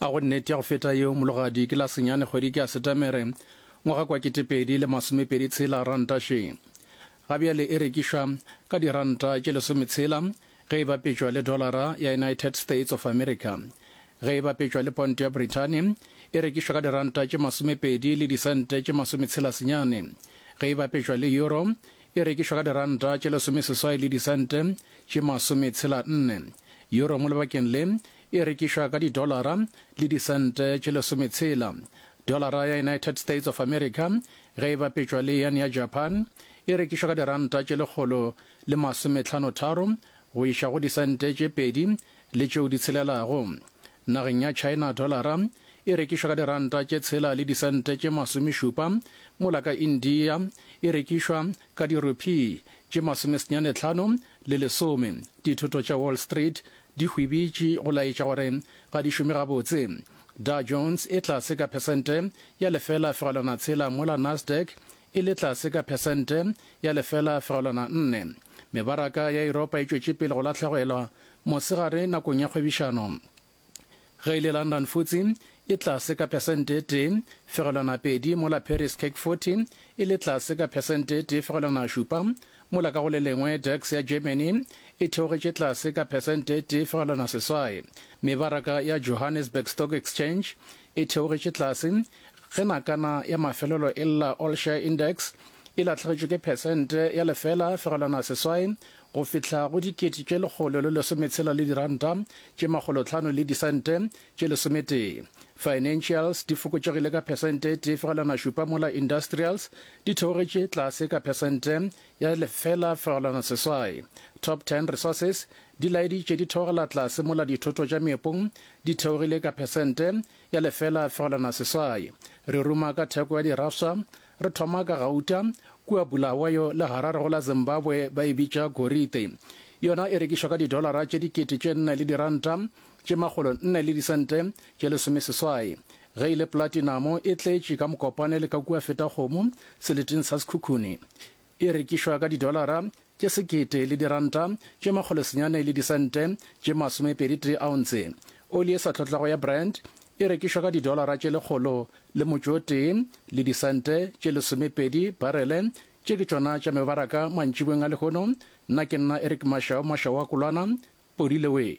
A go nnete ya go feta yeo, mologadi, ke la senyane kgwedi ke ya Setemere, ngwaga kwa 2026, ranta še. Ga bjale e rekišwa ka diranta tše lesometshela ge e bapetšwa le dolara ya United States of America. Ge e bapetšwa le ponto ya Brithani, e rekišwa ka diranta tše masomepedi le disente tše masometshela senyane. Ge e bapetšwa le euro, e rekišwa ka diranta tše lesomeseswai le disente tše masometshela nne. Euro mo lebakeng le e rekišwa ka didolara le disente tše lesometshela. Dolara ya United States of America ge e bapetšwa le yen ya Japan e rekišwa ka diranta tše lekgolo le masometlhanotharo go iša go disente tše pedi le tšeo di tshelelago. Nageng ya China dolara e rekišwa ka diranta tše tshela le disente tše masomešupa, mola ka India e rekišwa ka dirupee tše masomesenyanetlhano le lesome. Dithoto tša Wall Street di hwibitše go laetša gore ga di šome gabotse. Dow Jones e tlase ka phesente ya lefela fegelwana tshela mola Nasdaq e le tlase ka phesente ya lefela fegelwana nne. Mebaraka ya Yuropa e tšwetše pele go lahlegelwa mosegare nakong ya kgwebišano. Ge e le London FTSE e tlase ka phesente e tee fegelwana pedi mola Paris CAC 40 e le tlase ka phesente e tee fegelwana šupa, mola ka go le lengwe DAX ya Germany e theogetše tlase ka phesente e tee fegelwana seswai. Mebaraka ya Johannesburg Stock Exchange e theogetše tlase ge nakana ya mafelelo e lla All Share Index e lahlegetšwe ke phesente ya lefela fegelwana seswai go fihla go dikete tše lekgolo le lesometshela le diranta tše makgolotlhano le disente tše lesometee. Financials di fokotšegile ka phesente e tee fegelwana šupa mola Industrials di theogetše tlase ka phesente ya lefela fegelwana seswai. Top Ten Resources di laeditše di theogela tlase mola dithoto tša meepong di theogile ka phesente ya lefela fegelwana seswai. Re ruma ka theko ya dirafsa Re thoma ka gauta, kua Bulawayo le Harare go la Zimbabwe ba e bitša gorite. Yona e rekišwa ka didolara tše dikete tše nne le diranta tše makgolo nne le disente tše lesomeseswai. Ge e le platinamo e tletše ka Mokopane le ka kua Fetakgomo seleteng sa Sekhukhune. E rekišwa ka didolara tše sekete le diranta tše makgolosenyane le disente tše masomepeditee aonse. Oli e sa hlotlago ya Brent e rekišwa ka didolara tše lekgolo le motšo o tee le disente tše lesomepedi barele. Tše ke tšona tša mebaraka mantšiboeng a lehono. Nna ke nna Eric Mashau, Mashau wa Kolwana, Podile wee.